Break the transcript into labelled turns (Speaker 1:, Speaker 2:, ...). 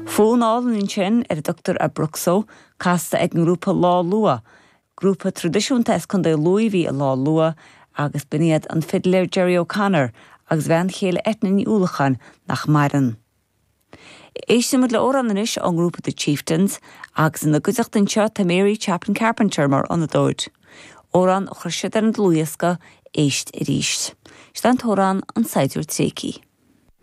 Speaker 1: Fonn álainn ansin ar a dtugtar Abruzzo, casta ag an ngrúpa Lá Luath. Grúpa traidisiúnta as Contae Lú a bhí i Lá Luath agus b'in iad an fidléir Gerry O'Connor agus a bhean chéile Eithne Ní Uallacháin nach maireann. Éistfidh muid le amhrán anois ón ngrúpa The Chieftains agus ina gcuideachta anseo tá Mary Chapin Carpenter mar fhonnadóir. Amhrán a chuir siad ar an dlúthdhiosca Éist Arís. Seo an t-amhrán An Saighdiúir Tréigthe.